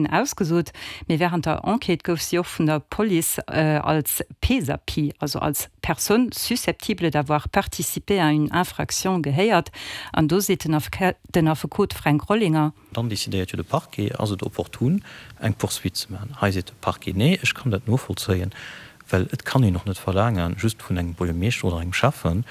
Ausgesot, mee wärend der Enquête gouf si och vun der Police als PSAPI, also als Personne susceptible d'avoir participé à une infraction gehéiert. An do seet den Affekot Fränk Rollinger. Dann decidéiert jo de Parquet, ass et opportun, eng Poursuite ze maachen. Hei seet de Parquet, nee, ech kann dat novollzéien, well et kann een och net verlaangen, just vun engem Buergermeeschter oder engem Schäffen,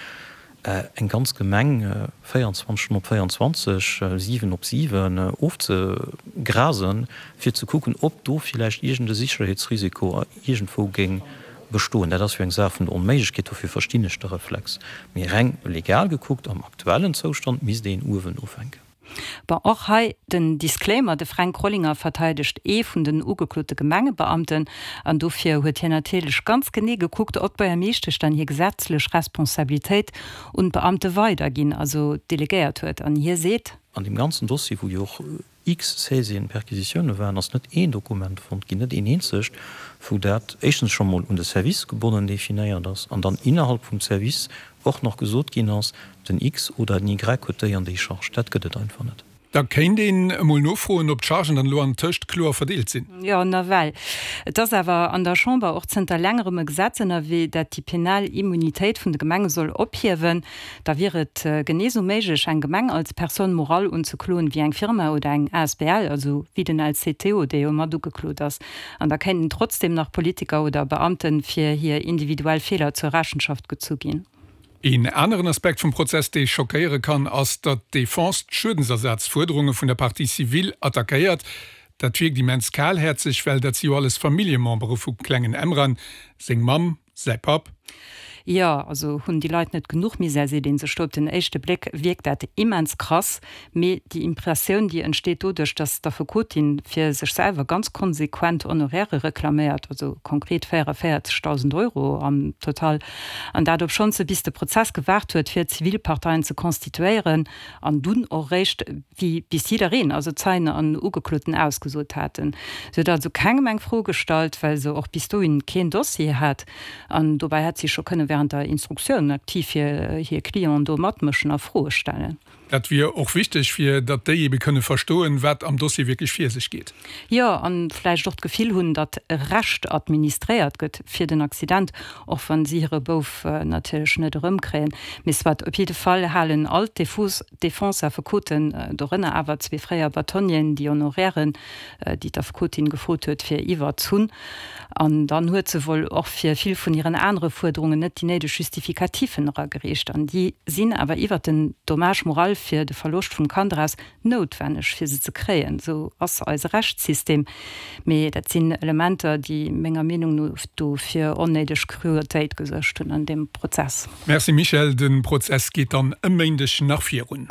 eng ganz Gemeng 24 Stonnen op 24, 7 op 7 ofzegrasen, fir ze kucken, ob do villäicht iergend e Sicherheetsrisiko iergendwou géing bestoen. Dat ass jo eng Saach vun der Onméiglechkeet, dofir verstinn ech de Reflex. Mee reng legal gekuckt, am aktuellen Zoustand, misst een uewen ufänken. Bon, och hei den Disclaimer, De Fränk Rollinger verteidegt ee vun den ugeklote Gemengebeamten an dofir huet hien natierlech ganz genee gekuckt, ob d'Buergermeeschtesch dann hir gesetzlech Responsabilitéit un d'Beamte weiderginn, also delegéiert huet. An hie seet. An deem ganzen Dossier, wou jo och x Saisien, Perquisitioune waren, ass net een Dokument fonnt ginn, net een eenzegt, wou dat éischtens scho mol un de Service gebonnen definéiert ass an dann innerhalb vum Service och nach gesot ginn ass, den X oder den Y huet déi an déi Charge. Dat gëtt et einfach net. Da kéint een emol nofroen, ob d'Chargen dann elo an tëscht kloer verdeelt sinn. Jo, nawell. Et ass awer an der Chamber och zënter längerem e Gesetz ënnerwee, dat déi penal Immunitéit vun de Gemenge soll ophiewen. Da wier et genee sou méiglech, eng Gemeng als Personne morale unzekloen, wéi eng Firma oder eng asbl, also wéi den LCTO, dee jo mat ugeklot ass. An da kéinten trotzdeem nach Politiker oder Beamte fir hir individuell Feeler zur Rechenschaft gezu ginn. Een aneren Aspekt vum Prozess, dee schockéiere kann, ass, datt d'Defense d'Schuedensersazfuerderunge vun der Partie civile attackéiert. Dat wierkt immens kalhäerzeg, well dat si jo alles Familljemembere vum klengen Emran, seng Mamm, Säi Papp. Jo, also hunn déi Leit net genuch Misär, seet een sech do. Op den éischte Bléck wierkt dat immens krass, mee déi Impressioun, déi entsteet doduerch, datt d'Affekotin fir sech selwer ganz konsequent Honoraire reklaméiert, also konkret 44.000 Euro am Total, an dat obschonns se bis de Prozess gewaart huet, fir Zivilparteien ze constituéieren an dunn och eréischt wéi bis jiddereen, also Zeien an Ugekloten, ausgesot haten. Si huet also kengem eng Fro gestallt, well se och bis dohin keen Dossier hat. An dobäi hätt si scho kënne während der Instruktioun aktiv fir hir Clienten do matmëschen a Froe stellen. Dat wier och wichteg, fir datt déi ebe kënne verstoen, wat am Dossier wierklech vir sech geet. Jo, an vläicht och d'Gefill hunn, datt Recht administréiert gëtt fir den Accident, och wann si hire Bouf natierlech net erëmkréien. Mee soit, op jidde Fall halen all d'Defense-Affekoten, dorënner awer zwee fréier Bâtonnieren, déi Honorairen, déi d'Affekotin gefrot huet, fir iwwerzunn. An dann huet se wuel och fir vill vun hiren anere Fuerderungen net déi néideg Justificatifen eragereecht. An déi sinn awer iwwert den Dommage moral fir de Verloscht vum Kand eraus noutwenneg, fir se ze kréien. Esou ass eise Rechtssystem. Mee dat sinn Elementer, déi menger Meenung no do fir onnéideg Cruautéit gesuergt hunn an deem Prozess. Merci Michèle, de Prozess geet dann e Méindeg nach virun.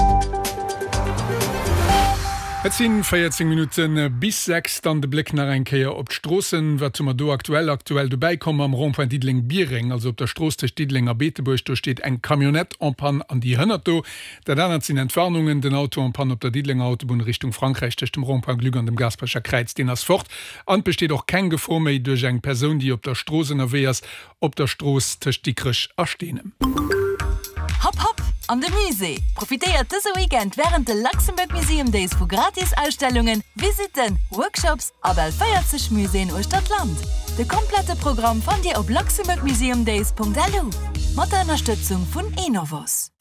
Et sinn 14 Minutte bis 6. Dann de Bléck nach eng Kéier op d'Stroossen. Wat hu mer do aktuell? Aktuell dobäi komm am Rond-point Diddeleng-Biereng, also op der Strooss tëscht Diddeleng a Beetebuerg, do steet eng Camionnette en panne an déi hënnert do. Dat anert sinn Entwarnungen, Den Auto en panne op der Diddelenger Autobunn Richtung Frankräich tëscht dem Rond-point Gluck an dem Gaasperecher Kräiz, deen ass fort. An et besteet och keng Gefor méi duerch eng Persoun, déi op der Strooss ënnerwee ass, op der Strooss tëscht Dikrech a Steenem. Hopp hopp an de Musée! Profitéiert dëse Weekend wärend de Luxembourg Museum Days vu gratis Ausstellungen, Visitten, Workshops a bal 40 Muséeën uechter d'Land. De komplette Programm fannt Dir op luxembourgmuseumdays.lu mat der Ënnerstëtzung vun Enovos.